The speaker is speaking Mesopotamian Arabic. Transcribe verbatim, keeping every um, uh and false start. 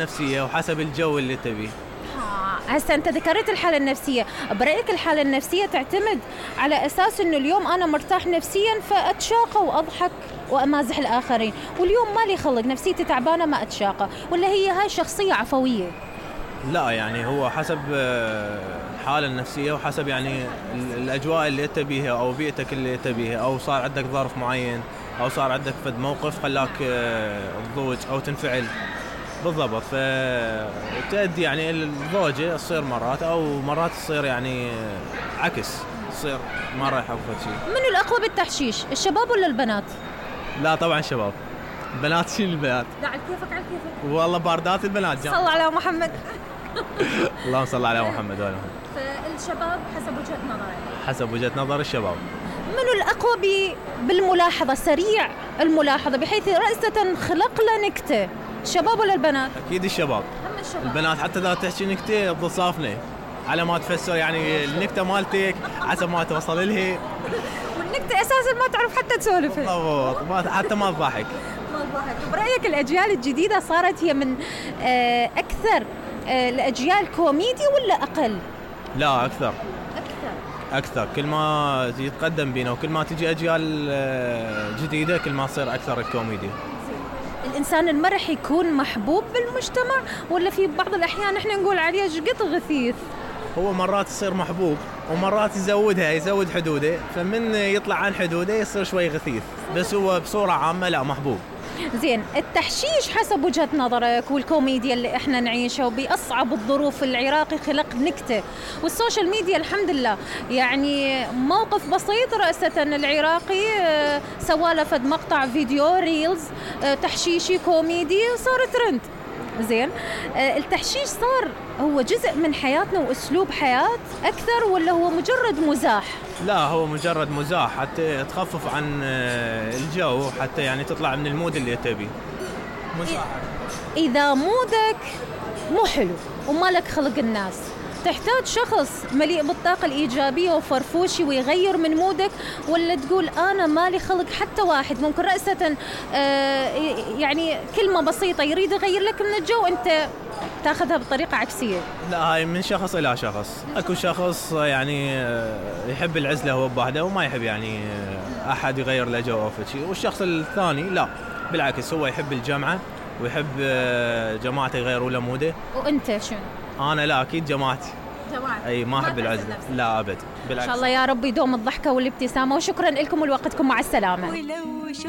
النفسية وحسب الجو اللي تبيه. هسه أنت ذكرت الحالة النفسية، برأيك الحالة النفسية تعتمد على أساس إنه اليوم أنا مرتاح نفسياً فأتشاقى وأضحك وأمازح الآخرين، واليوم مالي خلق نفسيتي تعبانة ما أتشاقى، ولا هي هاي شخصية عفوية؟ لا يعني هو حسب الحالة النفسية وحسب يعني الأجواء اللي أنت بيها أو بيئتك اللي أنت بيها، أو صار عندك ظرف معين أو صار عندك فد موقف خلاك تضوج أو تنفعل بالضبط، فتؤدي يعني الضوجة تصير مرات أو مرات تصير يعني عكس، تصير ما رايحة وفد شيء. منو الأقوى بالتحشيش، الشباب ولا البنات؟ لا طبعا الشباب، البنات شيل البنات. لا على كيفك على كيفك. والله باردات البنات جام. صلى على محمد. اللهم صل على محمد وعلى محمد. فالشباب حسب وجهة نظرك؟ حسب وجهة نظر الشباب. منو الأقوى ب... بالملاحظة، سريع الملاحظة بحيث رأسة خلق له نكتة، الشباب ولا البنات؟ أكيد الشباب. هم الشباب. البنات حتى إذا تحكي نكتة تضصافني على ما تفسر يعني النكتة مالتك حسب ما توصل لها. والنكتة أساساً ما تعرف حتى تسولفها. بالضبط، حتى ما تضحك. ما تضحك. برأيك الأجيال الجديدة صارت هي من أكثر الأجيال كوميدي ولا أقل؟ لا أكثر. أكثر. أكثر، كل ما يتقدم بينا وكل ما تجي أجيال جديدة كل ما تصير أكثر الكوميديا. الإنسان المرح يكون محبوب بالمجتمع ولا في بعض الأحيان إحنا نقول عليه شقط غثيث؟ هو مرات يصير محبوب ومرات يزودها يزود حدوده، فمن يطلع عن حدوده يصير شوي غثيث، بس هو بصورة عامة لا محبوب. زين، التحشيش حسب وجهة نظرك والكوميديا اللي احنا نعيشها وبأصعب الظروف، العراقي خلق نكتة والسوشيال ميديا الحمد لله يعني موقف بسيط رأسة العراقي سواله فد مقطع فيديو ريلز تحشيشي كوميدي صار ترند. زين، التحشيش صار هو جزء من حياتنا وأسلوب حياة أكثر ولا هو مجرد مزاح؟ لا هو مجرد مزاح حتى تخفف عن الجو، حتى يعني تطلع من المود اللي تبي. مزاح. إذا مودك مو حلو ومالك خلق الناس، تحتاج شخص مليء بالطاقة الإيجابية وفرفوشي ويغير من مودك، ولا تقول أنا مالي خلق حتى واحد ممكن رأسة آه يعني كلمة بسيطة يريد يغير لك من الجو أنت تاخذها بطريقة عكسية؟ لا هاي من شخص إلى شخص، أكو شخص يعني يحب العزلة هو بوحده وما يحب يعني أحد يغير له جو أو شيء، والشخص الثاني لا بالعكس هو يحب الجمعة ويحب جماعته يغيروا له موده. وأنت شنو؟ أنا لا أكيد جماعتي. جماعتي. أي ما أحب العزلة. لا أبد بالعكس. إن شاء الله يا رب يدوم الضحكة والابتسامة، وشكرا لكم ولوقتكم، مع السلامة.